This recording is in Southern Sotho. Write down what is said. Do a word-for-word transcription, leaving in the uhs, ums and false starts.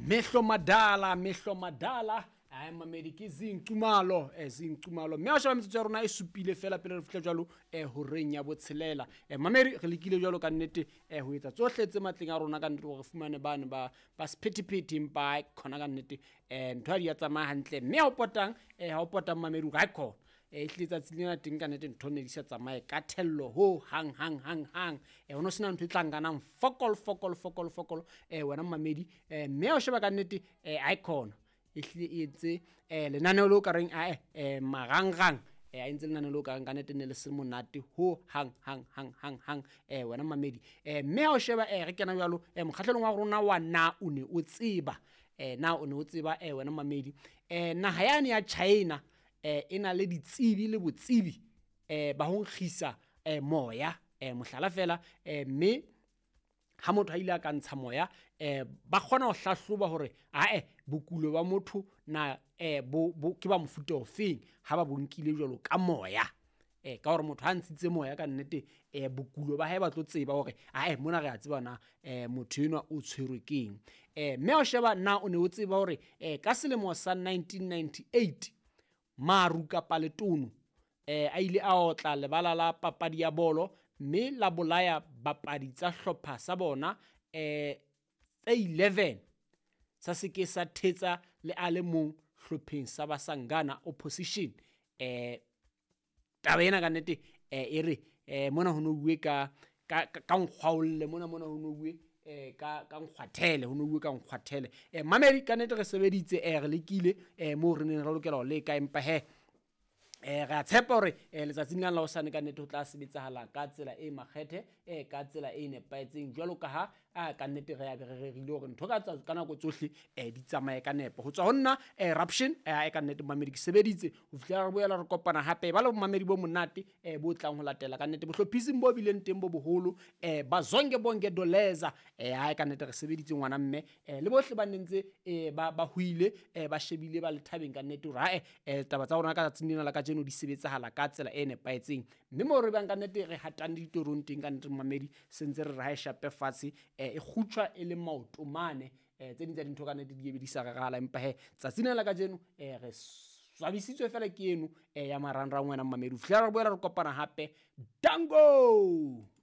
Mehlo madala, mehlo madala. Ai mamedi ke Zinqumalo, eh Zinqumalo. Mme ha o sheba metsotso ya rona e supile fela pele re fihla jwalo eh horeng ya botshelela. Eh mamedi re lekile jwalo ka nnete eh ho etsa tsohle tse matleng a rona ka nnete hore re fumane bane ba ba sephethephethe, empa ai khona ka nnete eh ntho ha di ya tsamaya hantle. Mme ha o potang eh ha o potang mamedi hore ai khona. Eh ehlile tsatsi lena teng ka nnete ntho ne di sa tsamaye ka thello ho hang hang hang hang. Eh ho no sena ntho e tla nkanang fokol fokol fokol fokol eh wena mamedi. Eh mme ha o sheba ka nnete eh ai khona. Ehlile e entse eh lenaneo leo ka reng ae eh marangrang eh a entse lenaneo leo ka reng ka nnete ne le se monate ho hang hang hang hang hang eh wena mamedi. Eh mme ha o sheba eh re kena jwalo eh mokgahlelong wa rona wa na o ne o tseba eh na o ne o tseba eh wena mamedi eh naha yane ya China eh e na le ditsebi le botsebi eh ba ho nkgisa eh moya eh mohlala fela eh mme ha motho a ile a ka ntsha moya eh ba kgona ho hlahloba hore ae bokulo ba motho na eh bo, bo ke ba mofuta ofeng ha ba bo nkile jwalo ka moya eh ka hore motho ha ntshitse moya ka nnete eh bokulo ba hae ba tlo tseba hore ae mona re a tseba na eh motho enwa o tshwerwe keng. Eh mme ha o sheba na o ne o tseba hore eh ka selemo sa nineteen ninety-eight maru kapa letono eh a ile a otla lebala la papadi ya bolo mme la bolaya bapadi tsa hlopha sa bona eh tse eleven sa se ke sa thetsa le a le mong hlopheng sa Basangana opposition. Eh taba ena ka nnete eh e re eh mona ho no bue ka ka ka nkgwaolle mona mona ho no bue eh ka ka nkgwathele ho no bue ka nkgwathele. Eh mamedi ka nnete re sebeditse eh re lekile eh moo re neng re lokela ho leka, empa he eh re a tshepa hore eh letsatsing lena la hosane ka nnete ho tla sebetsahala ka tsela e makgethe eh ka tsela e nepahetseng jwalo ka ha a ka nnete re ya be re rerile hore ntho ka tsa ka nako tsohle eh di tsamaye ka nepo. Ho tswa ho nna eh Raption eh ka nnete mamedi ke sebeditse ho fihlela re boela re kopana hape ba le mamedi bo monate eh bo tlang ho latela ka nnete bohlophising bo bileng teng bo boholo eh ba Zonke Bonke Doleza eh ha ka nnete re sebeditse ngwana mme eh le bohle ba nentse eh ba ba hoile eh ba shebile ba le thabeng ka nnete hore ha eh taba tsa rona ka tsatsing lena la kajeno di sebetsahala ka tsela e nepahetseng. Mme moo re bang ka nnete re hatang ditorong teng ka nnete mamedi sentse re re ha e shape fatshe eh e kgutshwa e le maoto mane eh tse ding tsa dintho ka nnete di ebe di sa rarahala, empa he tsatsing lena la kajeno eh re swabisitswe fela ke eno eh ya marangrang wena mamedi. Ho fihlela re boela re kopana hape, dango.